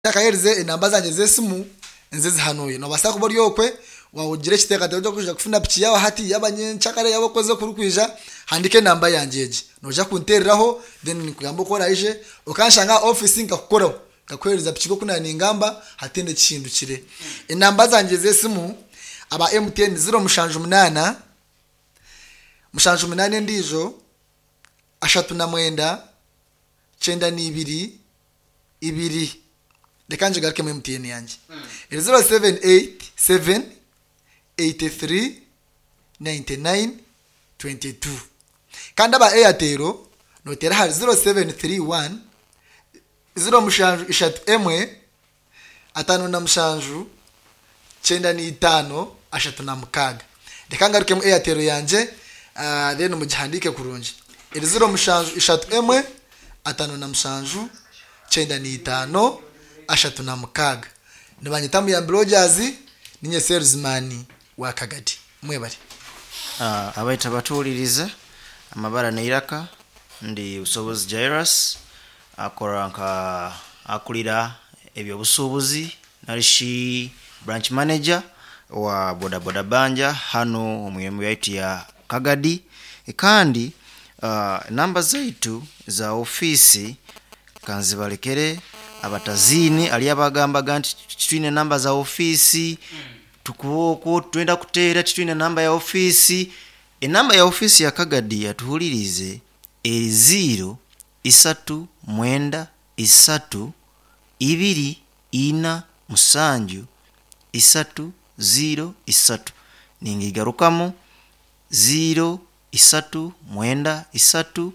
Ntakaherize enamba zangye z'esimu nzizihanuye. Nobaasa kuba ori okwe wagira ekiteekateeko ky'okwija kufuna piki yaaba hati yaaba nyenkyakare yaaba okwezi okurikwija, handiika enamba yangye egi. Noija kunteereraho then nkugambe oku oraije okanshanga aha ofiisi nkakukoraho nkakuheereza piki nk'oku naaba ningamba hataine ekihindukire. Enamba zangye z'esimu aba MTN ziro 78, 78 endiijo, 39, 92, ibiri reka ngigarukemu MTN yangye eri 0787 83 99 22 kandi aba Airtel noteera ahari 0731 07 1 57 95 36. Reka ngarukemu Airtel yangye then mugihandiike kurungi. Eri 07 1 57 95 36. Nibanyeta Muyambi Rogers, ninye salesman wa Kagadi. Mwebare. Abaitu abatuhuririze, amabara n'eiraka, ndi Busobozi Jairus, akora nka akurira eby'obusuubuzi narishi branch manager wa boda boda banja hanu omu irembo yaitu ya Kagadi kandi enamba zaitu za ofiisi kanzibarekere abataziine hariyo abagambaga nti titwine namba za ofiisi tukuba okwo twenda kuteera titwine namba ya ofiisi enamba ya ofiisi ya Kagadi atuhuririize eri ziiro isatu mwenda isatu ibiri ina musanju isatu ziiro isatu ningigarukamu ziiro isatu mwenda isatu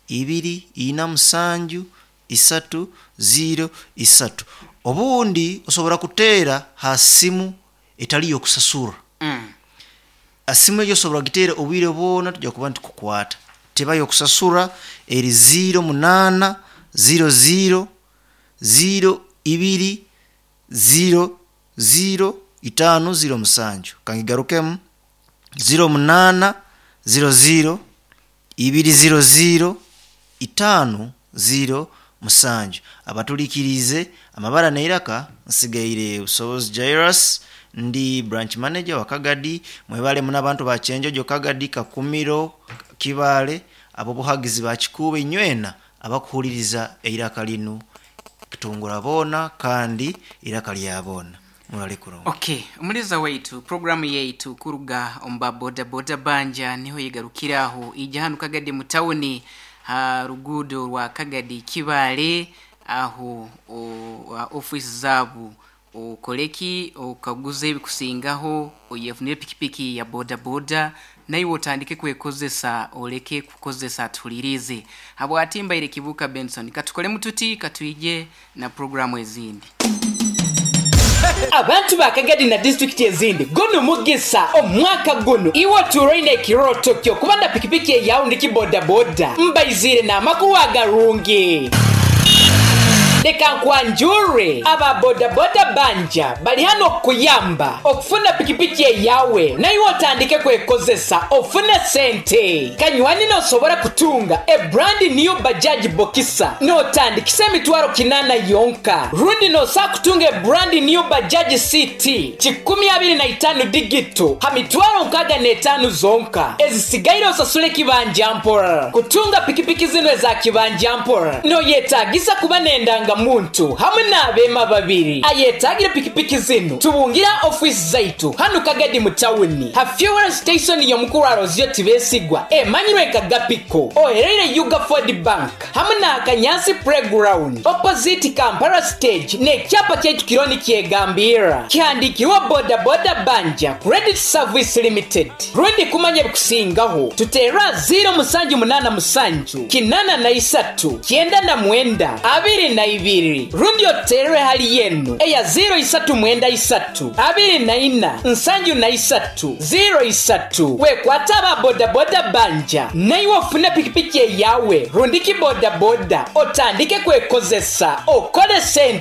ibiri ina musanju isatu ziiro isatu obundi osobora kuteera ha simu etari y'okusasura esimu egyo osobora kugiteera obwire bwona tujya kuba nitukukwata teba y'okusasura eri ziiro munaana ziiro ziiro ziiro ibiri ziiro ziiro itaano ziiro musanju kangigarukemu ziiro munaana ziiro ziiro ibiri ziiro ziiro itaano ziiro musanju abaturikiriize amabara n'eiraka nsigaire Busobozi Jairus ndi branch manager wa Kagadi mwebale muno abantu ba Kyenjojo Kagadi Kakumiro Kibaale ab'obuhagizi ba Kikuubo inywena abakuhuririza eiraka linu kitungura boona kandi eiraka lya boona murare kurungi. Okay, omuliza waitu programu yaitu kuruga omu ba boda boda banja niho yegarukira aho ija hanu Kagadi mu tawuni ha ruguudo rwa Kagadi Kibaale aho ofiisi zaabu okoreki okaguze ebikusingaho oyefunire pikipiki ya boda boda naiwe otandike kwekozesa oleke kukozesa tuhuliriize habwati mbaire Kibuuka Benson katukolemu tuti katwije na programu ezindi. Abantu ba Kagadi na disitulikiti ezindi, gunu mugisa omwaka gunu iwe otuura oine ekirooto kyo kuba na pikipiki eyawe rundi bodaboda. Mbaiziire n'amakuru agarungi. Leka nkwanjure, aba bodaboda banja bali hanu okukuyamba okufuna pikipiki eyawe naiwe otandike kwekozesa ofune sente. Kanywani nosobora kutunga a brand new Bajaj Boxer notandikisa emitwaro kinana yonka rundi nosa kutunga a brand new Bajaj CT 25 digital ha mitwaro 65 zonka ezisigaire osasule ekibanja mpora. Kutunga pikipiki zinu eza kibanja mpora noyetagisa kuba n'endanga muntu hamwe n'abeema babiri. Ayetagire pikipiki zinu tubungira ofiisi zaitu hanu Kagadi mu tawuni ha fuel station y'omukuru Arozio Tibesigwa emanyirwe nka Gapiko ohereire Uga Ford Bank hamwe na Kanyansi Playground opposite Kampala stage n'ekyapa kyaitu kiriho nikyegambirra kihandikirwe Boda Boda Banja Credit Service Limited. Rundi kumanya ebikusingaho tuteerwe aha 0787 83 99 22 rundi otuteerere hali yenu eya 0393 24 73 03. Wekwate aba bodaboda banja naiwe ofune pikipiki eyawe rundi ki bodaboda otandike kwekozesa okore sente.